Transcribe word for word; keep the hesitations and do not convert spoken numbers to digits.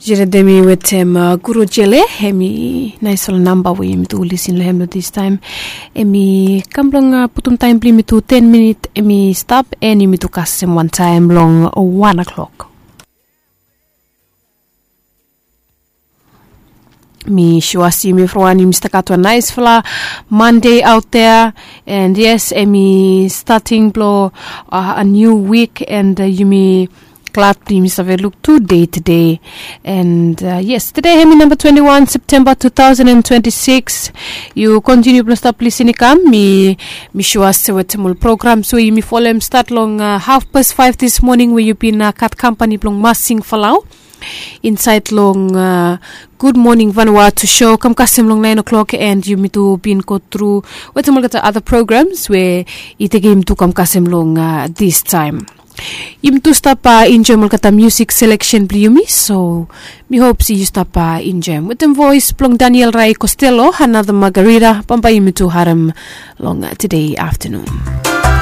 Jere de mi wetem guru jele, em i naisfala namba we yumi tu lisin long hem long distaim. Em i kam blong putum taim blong yumi tu ten minit em i stap, en yumi tu kasem wantaim long wan o'clock. Mi sua se yumi evriwan yumi stap gat wan naisfala Monday aut dea. And yes, em i stating blong a niu wik, and yumi glad blong yumi save luk tu dei tede. And yes, tede em i namba twenti wan Septemba tu taosen and twenti sikis. Yu kontiniu blong stap lisin i kam. Mi mi sua se wetem ol programs we yumi folem stat long hafpas faef dis moning we yu bin gat kampani blong masing falau insait long gud moning vanua tu sho kam kasem long naen o'klok, and yumi tu bin go tru wetem olgeta ada programs we i tekem yumi tu kam kasem long distaim. Yumi tu stap enjoem olgeta musik seleksen blong yumi, so mi hop se yu stap enjoem wetem voes blong Daniel Rai Costello, Another Margarita. Bambae yumi tu harem long tede aftanun.